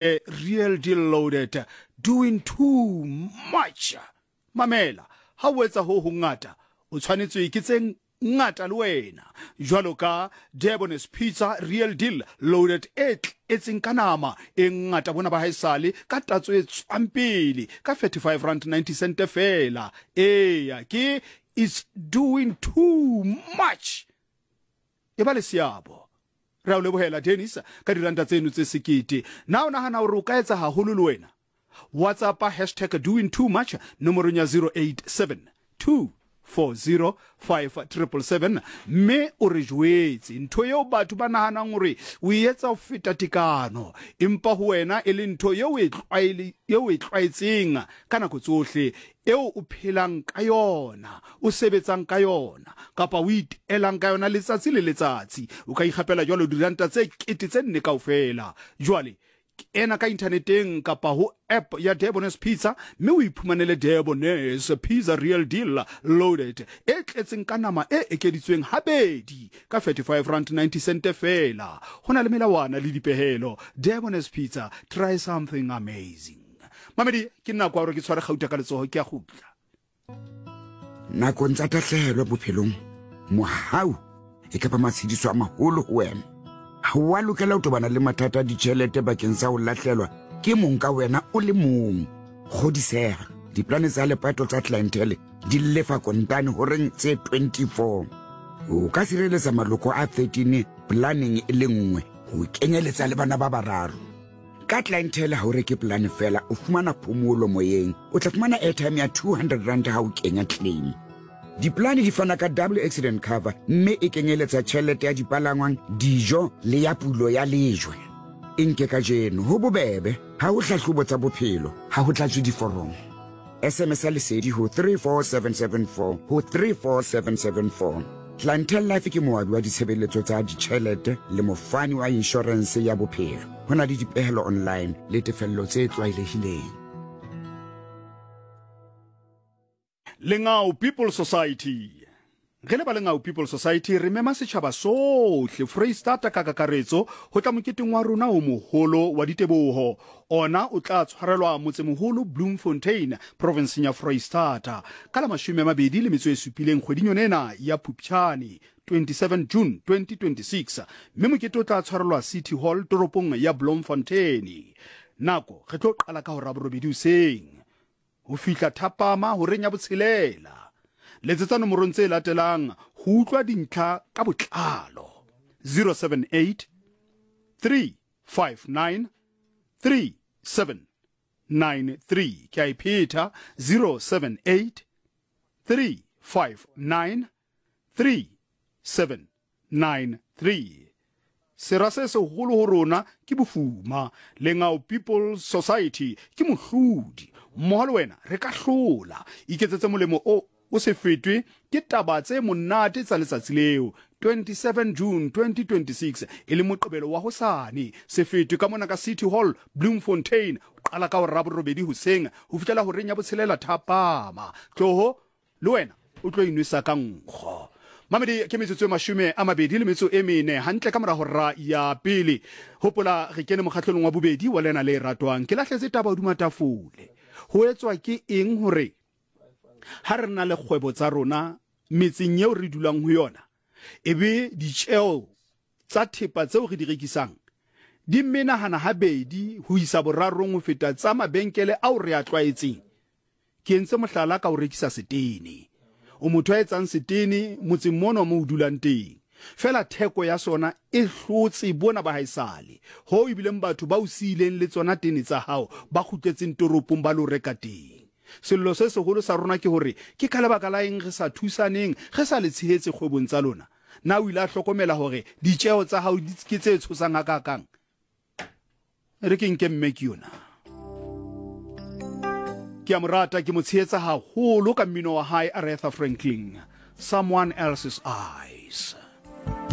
Real Deal Loaded, Doing Too Much. Mamela, ha o etsa ho hongata, o tshwanetswe ke tse ngata le wena. Jwalo ka Debonair's Pizza Real Deal Loaded e tletseng ka nama e ngata bona ba haesale ka tatso e tswang pele ka R35.90 feela. Eya, ke It's Doing Too Much. E ba le seabo. Re a o lebohela, Dennis, ka diranta tseno tse sekete. Na o nahana hore o ka etsa haholo le wena? WhatsAppa hashtag doing too much nomorong ya 087 240 5777 mme o re jwetse ntho eo batho ba nahanang hore o e etsa ho feta tekano, empa ho wena e le ntho eo o e tlwaetseng ka nako tsohle, eo o phelang ka yona, o sebetsang ka yona, kapa o iteelang ka yona letsatsi le letsatsi. O ka ikgapela jwalo diranta tse 4000 kaofela. Jwale, kena ka inthaneteng kapa ho app ya Debonair's Pizza mme o iphumanele Debonair's Pizza Real Deal Loaded e tletseng ka nama e ekeditsweng habedi ka R35.90 feela. Ho na le melawana le dipehelo. Debonair's Pizza, try something amazing. Mamedi, ke nako ya gore ke tshware gauta ka letsogo, ke a gutla. Nakong tsa tahlehelo bophelong, mohau e ka ba matshediso a maholo ho wena. Ha o a lokela ho tobana le mathata a ditjhelete bakeng sa ho lahlelwa ke mong ka wena o le mong. Kgodiseha, diplane tsa lepato tsa Clientele di lefa kontane horeng tse 24. O ka sireletsa maloko a 13 planeng e le nngwe, ho kenyeletsa le bana ba bararo. Ka Clientele ha o reke polane fela, o fumana phomolo moyeng. O tla fumana airtime ya R200 ha o kenya claim. Dipolane di fana ka double accident cover mme e kenyeletsa tjhelete ya dipalangwang, dijo le ya pulo ya lejwe. E nke kajeno, ho bobebe, ha ho hlahlobo tsa bophelo, ha ho tlatswe diforomo. SMS ya Lesedi ho 34774 ho 34774. Clientele Life ke moabi wa ditshebeletso tsa ditjhelete le mofani wa inshorense ya bophelo. Ho na le dipehelo online le tefello tse tlwaelehileng. Lengau People Society. Re le ba Lengau People Society re mema setjhaba sohle Freistata ka kakaretso ho tla moketeng wa rona o moholo wa diteboho. Ona o tla tshwarelwa motsemoholo Bloemfontein, provinseng ya Freistata, ka la 27 kgweding yona ena ya Phupjane, 27 June 2026, mme mokete o tla tshwarelwa City Hall toropong ya Bloemfontein. Nako re tlo qala ka hora borobedi hoseng. Ho fihla thapama horeng ya botshelela. Letsetsa nomorong tse latelang ho utlwa dintlha ka botlalo, 078 359 3793. Ke a e phetha, 078 359 3793. 93. Sera se seholo ho rona ke bofuma. Lengau People's Society ke mohlodi. Mmoho le wena re ka hlola. Iketsetse molemo o o se fetwe ke taba tse monate tsa letsatsi leo, 27 June 2026, e leng Moqebelo wa hosane. Se fetwe ka mona ka City Hall, Bloemfontein, ho qala ka hora ya borobedi hoseng ho fihlela horeng ya botshelela thapama. Tloho Le wena o tlo inwesa ka nkgo. Mamedi, ke metsotso e 24 hantle ka mora hora ya pele. Hopola re kene mokgahlelong wa bobedi wa lena le ratwang. Ke lahletse taba hodima tafole. Ho etswa ke eng hore ha re na le kgwebo tsa rona metseng eo re dulang ho yona, e be ditjeo tsa thepa tseo re di rekisang di menahana habedi ho isa borarong ho feta tsa mabenkele ao re a tlwaetseng? Ke entse mohlala ka ho rekisa setene. O motho ya etsang setene motseng mono mo o dulang teng. Feela theko ya sona e hlotse bona ba haesale, hoo ebileng batho ba o siileng le tsona tene tsa hao ba kgutletseng toropong ba lo reka teng. Sello se seholo sa rona ke hore ke ka lebaka la eng re sa thusaneng, re sa le tshehetse kgwebong tsa lona? Na o ile a hlokomela hore ditjeho tsa hao ke tse tshosang hakaakang? E re ke nke mme ke yona. Ke a mo rata, ke mo tshehetsa haholo ka mmino wa hae Aretha Franklin, Someone Else's Eyes.